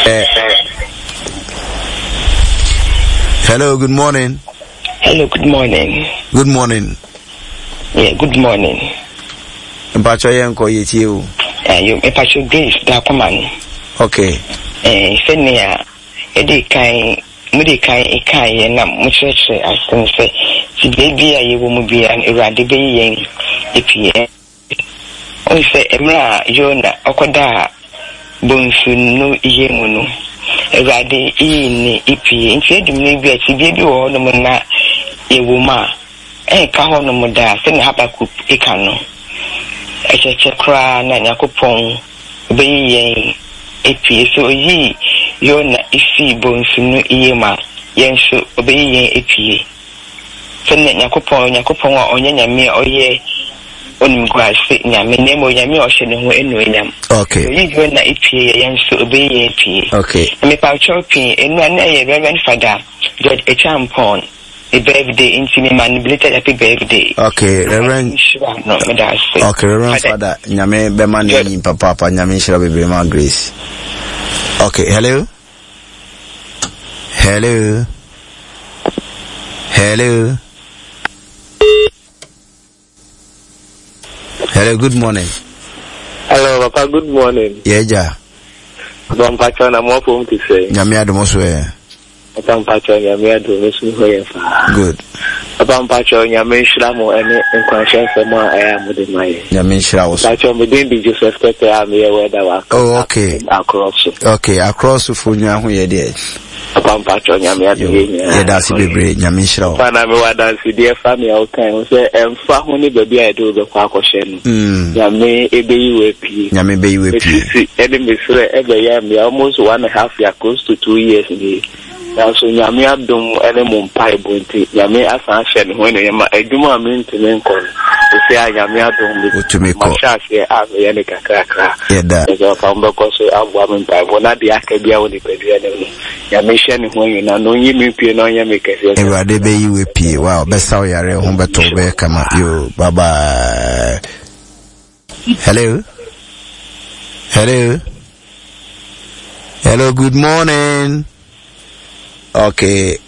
Eh, hello, good morning. Hello, good morning. Good morning. Yeah, good morning. Mpacho yɛn kɔ yɛ tie o. Ayo, eh, mpacho Grace da kɔma no. Okay. Eh, sɛnea yɛde kan mo de kan kan yɛ na mo kyerɛkyerɛ asɛm sɛ ti beebi a yɛwɔ mu biara no Awurade bɛyi yɛn apue. Wohu sɛ mmerɛ a Yona ɔkɔdaa bonsu no yam mu no, Awurade yii no pue. Nti adu mmerɛ bi a tebea bi wɔ hɔnom na yɛwɔ mu a, ɛnka hɔnom daa sɛnea Habakuk ka no. Ɛkyɛkyɛ koraa na Nyankopɔn bɛyi yɛn apue. Sɛ ɔyii Yona fii bonsu no yam a, yɛn nso ɔbɛyi yɛn apue. Sɛnea Nyankopɔn, Onyankopɔn a ɔnyɛ Nyame a ɔyɛ onimguase Nyame, na mmom Onyame a ɔhyɛ ne ho anuonyam. Okay. Sɛ oyi Yona epie yɛ, yɛn nso obeyi yɛn epie. Okay. Na mepakyɛw pii, nnora na ɛyɛ Reverend Fada George Acheampong ne birthday, nti mema no belated happy birthday. Okay, Reverend. Nhyira no, meda ase. Okay, Reverend Fada, Nyame bɛma ne nyin papaapa, Nyame nhyira bebree ma Grace. Okay, hello. Hello. Hello. Hello, good morning. Hello, Papa, good morning. Yeah, ja. Papa mpacho na mo afom ti sɛ. Nyame adom so ɛ. Papa mpacho nyame adom me so ho yɛ fa. Good. Papa mpacho nyame nhyira mo ɛne nkwanhyɛ nsɛm a ɛyɛ a mode ma yɛ. Nyame nhyira wo so. Mpacho me din de Joseph Tete a meyɛ wɛda wɔ Oh, okay. Akorɔ so. Okay, akorɔ so fo nyina ho yɛ deɛ. Papa mpacho nyame adom yɛ nyinaa. Yɛda ase bebree, nyame nhyira wo. Papa na mewɔ adansedeɛ fa nea wokae ho sɛ ɛmfa ho ne baabi a yɛde wo bɛkɔ akɔhyɛ no. Mm. Nyame ɛbɛyi wo apue. Nyame bɛyi wo apue. Mesisi ɛne mesrɛ ɛbɛyɛ mmea almost 1.5 year, close to 2 years nie. Nanso Nyame adom ne mo mpaebɔ nti, Nyame asan ahyɛ ne ho anuonyam ma adwuma a mentumi nkɔ no, seesei a Nyame adom me, Wotumi kɔ. mahyɛ aseɛ a meyɛ no kakrakra. Yɛda. Ɛsɛ papa mobɛkɔ so aboa me mpaebɔ na deɛ aka biara wɔ nipadua no mu no, Nyame nhyɛ ne ho anuonyam na ɔnyi me mpue na ɔnyɛ me kɛseɛ. Awurade bɛyi wo apue. Wow, bɛsa wo yareɛ, ho bɛtɔ wo, bɛyɛ kama. Yo, bye bye. Hello. Hello. Hello, good morning. Okay.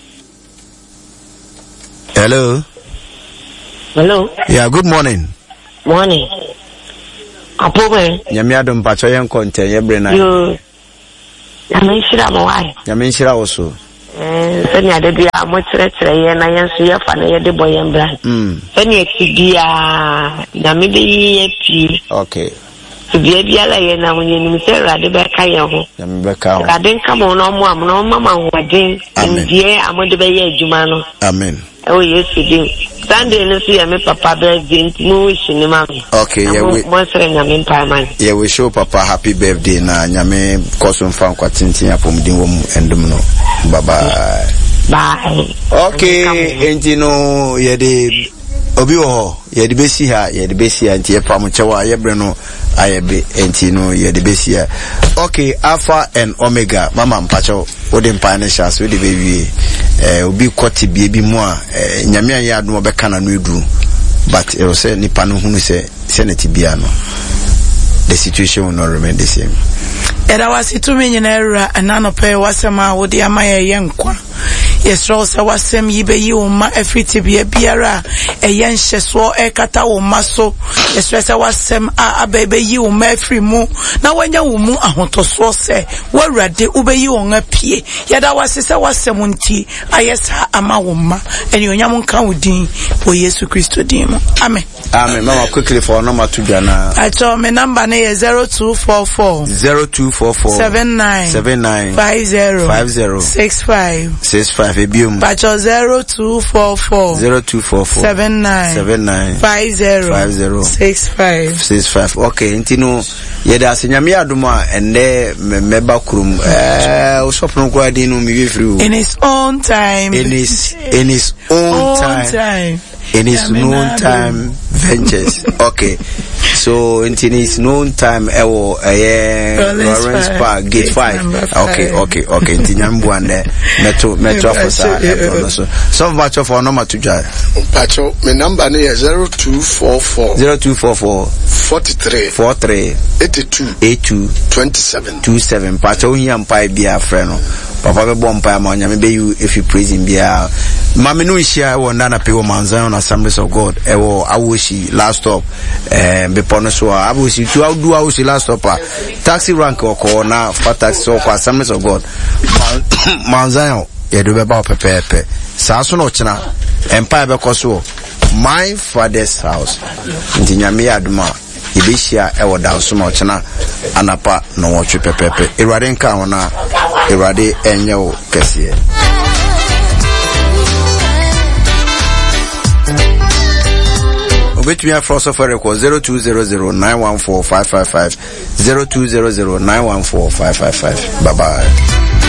Hello. Hello. Yeah, good morning. Morning. Apome. Nyame adom pacho yɛn kɔ ntɛn yɛ bere na. Yo. Nyame nhyira mo wae. Nyame nhyira wo so. Eh, sɛnea da biara mokyerɛkyerɛ yɛn na yɛn nso yɛfa na yɛde bɔ yɛn bra. Mm. Sɛnea ti biara Nyame bɛyi yɛn pie. Okay. Tebea biara yɛn nam yɛnim sɛ Awurade bɛka yɛn ho. Nyame bɛka ho. Awurade nka mo na ɔmo am na ɔma mo ahoɔden. Amen. Nimdeɛ a mode bɛyɛ adwuma no. Amen. Ɛwɔ Yesu din. Sunday no nso yɛ me papa birthday nti mo wish ne ma me. Okay, Na yɛ mo we mo srɛ Nyame mpae ma no. yɛ wish wo papa happy birthday na Nyame kɔ so mfa nkwa tenten apɔmuden wɔ mu ɛndom no. Bye bye. Bye. Okay, Nyame nka mo ho. enti no yɛde obi wɔ hɔ yɛde bɛsi ha yɛde bɛsi ha nti yɛpa mo kyɛw a yɛbrɛ no ayɛ be nti no yɛde bɛsi ha. Okay, Alpha and Omega mama mpakyɛw wode mpae no hyɛ ase wode bɛwie. Eh, obi kɔ tebea bi mu a eh, Nyame anyɛ adom ɔbɛka n'ano aduru but ɛwɔ sɛ nipa no hunu sɛ sɛ ne tebea no the situation will not remain the same. Yɛda wo ase tumi nyinaa wura ɛna anɔpa yi w'asɛm a wode ama yɛ yɛ nkwa. Yɛsrɛ wo sɛ w'asɛm yi bɛyi wo mma afiri tebea biara a ɛyɛ nhyɛsoɔ ɛrekata wo mma so. Yɛsrɛ sɛ w'asɛm a aba yi bɛyi wo mma afiri mu na wɔanya wo mu ahotɔsoɔ sɛ wo Awurade wobɛyi wɔn apue. Yɛda wo ase sɛ w'asɛm nti ayɛ saa ama wo mma. Anuonyam nka wo din wɔ Yesu Kristo din mu. Amen. Amen. Mama quickly for number to dwa na. Acho me number ne yɛ 0244 0244 79 79 50 50 65 65 ebiom. Pacho 0244 0244 79 79 50 50 65 65. Okay, nti no yɛde ase Nyame yɛ adom a ɛndɛ mɛba kurom. Eh, osɔfo no koraa din no me wie firi o. In his own time. In his own time. time. In his own time ventures. Okay. So nti it's noon time ɛwɔ ɛyɛ Lawrence Park gate 5. Okay, okay, okay. Nti nyame bua ndɛ mɛto mɛto afɔ saa ɛpono no so. Sɔfo mpakyɛw fa nɔma to dwa. Mpakyɛw me namba no yɛ 0244. 0244. 43. 43. 82. 82. 27. 27. Mpakyɛw ohia mpae biara frɛ no. Papa bɛbɔ mpae ama Onyame bɛyi wo efi prison biara. Ma me no nhyia wɔ nda anapɛ wɔ Mount Zion Assemblies of God ɛwɔ Awoshi last stop eh, bepɔ no so a Awoshi tu du Awoshi last stop a taxi rank ɔkɔ na fa taxi so ɔkɔ Assemblies of God Mount, Mount Zion yɛde bɛba wo pɛpɛɛpɛ saa so na ɔkyena mpae bɛkɔ so wɔ my father's house nti Nyame yɛ adom a Yɛbɛhyia wɔ Dansom a ɔkyena anapa nnɔnwɔtwe pɛpɛɛpɛ. Awurade nka ho na Awurade nyɛ wo kɛseɛ. Obetumi afrɛ ɔsɔfo Eric wɔ 0200 914 555 0200 914 555. Bye bye.